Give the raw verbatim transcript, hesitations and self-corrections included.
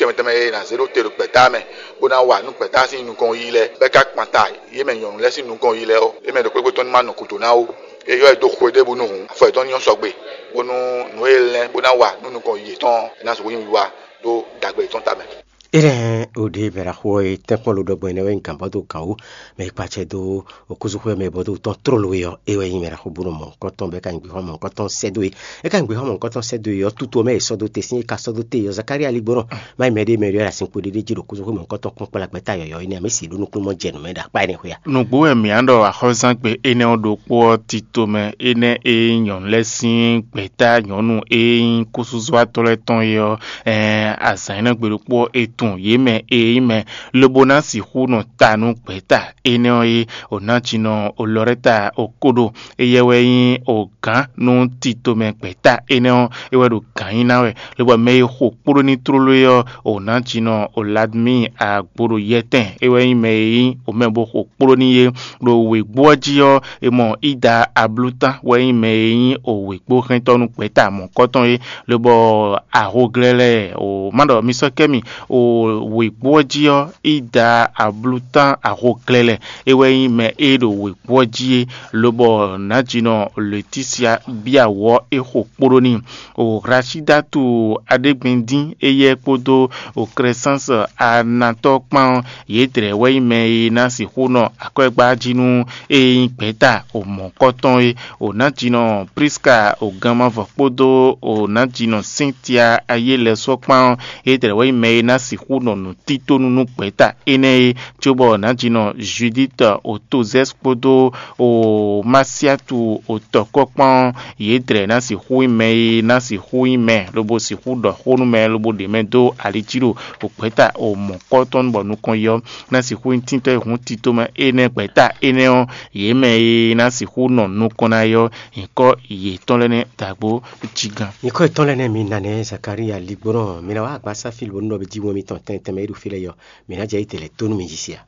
Tɛnmɛ tɛnmɛ e è nǎ zé ɖó te ɖo gbɛ̌ta mɛ, bó ná wa nú gbɛ̌ta sín nukɔn yiyi lɛ́ɛ, bɔ é ka kpan ta yě mɛ nyɔ̌nu lɛ́ɛ sín nukɔn yiyi lɛ́ɛ ɔ́, é mɛ ɖo kpékpé tɔn ní ma nɔ gǔdo ná ó. É ylɔ́ ɛ dó xwe ɖěbǔ nú hǔn, afɔ yětɔn ní nyɔ́ sɔgbe, bónú nǔ e é lɛ́n bó ná wa nú nukɔn yiyi yětɔn ɔ́, é ná sixú nyí wiwa ɖó dǎgbé yětɔn tamɛ. Énɛ́ ɔ́ ɖě bɛ̌ ɖaxó ɔ́ e tɛ́nkpɔ́n ló ɖɔgbɛ́ énɛ́ wɛ nyí gǎnbɔ́ dó gǎn wú, mɛ e kpa acɛ dó okúzúxwé mɛ bɔ dó tɔn tlóló é ɔ́, é wɛ nyí mɛ ɖaxó bó nɔ mɔ nukɔn tɔn bɔ é ka nyí gběxɔ́mɔ nukɔn tɔn sɛ́ dó e. É ka nyí gběxɔ́mɔ nukɔn tɔn sɛ́ dó e ɔ́, tuto mɛ e sɔ́ dó te sín é ka sɔ́ dó te é ɔ́, Zakália ligbɔnɔ má nyí mɛɖé mɛ ɖé wɛ ɖo azinkpo ɖé ɖé jí ɖo okúzúxwé mɛ nukɔn tɔn kpɔ́n kplá gbɛ́ta yɔ̌yɔ́ énɛ́ ɔ́, mɛ si ɖó nukúnnú mɔ jɛ nǔ mɛ ɖo akpá énɛ́ xwé a? Nǔgbó wɛ mǐ á ɖɔ axɔ́zán gbe énɛ́ ɔ́ ɖokpó ɔ́, tito mɛ énɛ́ e nyí nyɔ̌nu lɛ́ɛ sín gbɛ̌ta nyɔ̌nu e nyí kúsúzɔ́watɔ́ lɛ́ɛ tɔn é ɔ́, ɛɛn azǎn énɛ́ gbe ɖokpó ɔ́, è tunwun yě mɛ e nyí mɛ, lobo ná sixú nɔ ta nú gbɛ̌ta énɛ́ ɔ́ é. Onácinɔ Olɔrɛ́ta Okóɖo, éyɛ́ wɛ nyí ogǎn nú titomɛ gbɛ̌ta énɛ́ ɔ́, é wɛ ɖo gǎn nyi ná wɛ, lobɔ mɛ e xo kpóɖó ní tlóló é ɔ́, Onácinɔ Oladmi Agboɖoyɛtɛn, é wɛ nyí mɛ e nyí omɛ bó xo kpóɖó ní é. Ɖo wěgbó ɔ́ jí ɔ́, è mɔ Ida Ablután wɛ nyí mɛ e nyí wěgbóhɛntɔ́ nú gbɛ̌ta mɔ̌kɔtɔn é, lobɔ ahoglɛ́lɛ́ o má ɖɔ mi sɔ́ kɛ mì o wěgbó ɔ́ jí ɔ́, Ida Ablután ahoglɛ́lɛ́ é wɛ nyí mɛ e ɖo wěgbó ɔ́ jí é, lobɔ nǎjínɔ Letísia bíá wǔ ɔ́, é xo kpóɖó n'i. O Hlasidatu Aɖégbindín éyɛ́ kpódó o Klɛsáns Anatɔ́ kpán ɔ́, yědɛɛ wɛ nyí mɛ e ná sixú nɔ akwɛ́gbá jí nú e nyí gbɛ̌ta o mɔ̌kɔtɔn é. O nǎjínɔ Priska o ganmavɔ kpódó o nǎjínɔ Sɛ́ntia ayé lɛ́ɛ sɔ́ kpán ɔ́, yědɛɛ wɛ nyí mɛ e ná sixú nɔ nǔtítónú nú gbɛ̌ta énɛ́ é, cóbɔ nǎjínɔ Judíit o Tozɛ́s kpódó o Masiatu o tɔ̌kɔ́ kpán ɔ́, yědɛɛ ná sixú nyí mɛ e ná sixú nyí mɛ, lobo sixú ɖɔ xó nú mɛ, lobo ɖe mɛ dó ali jí ɖo o gbɛ̌ta o mɔ̌kɔtɔn bɔ nukɔn yɔ ná sixú nyí tíntɔ́ e hǔn tito mɛ énɛ́ gbɛ̌ta énɛ́ ɔ́, yě mɛ e ná sixú nɔ nukɔn ná yɔ nyǐkɔ yětɔn lɛ́ɛ nɛ́ dǎgbó jí gán. Nyǐkɔ yětɔn lɛ́ɛ nɛ́ mi ná nɛ́ Zakalía ligbɔnɔ, mi ná wá agbasáfílu bónú ɖɔ jí wɛn mitɔn tɛn tɛnmɛ e ɖo fí lɛ́ɛ yɔ, mǐ ná jɛ yi tɛlɛ tó nú mi jí sia.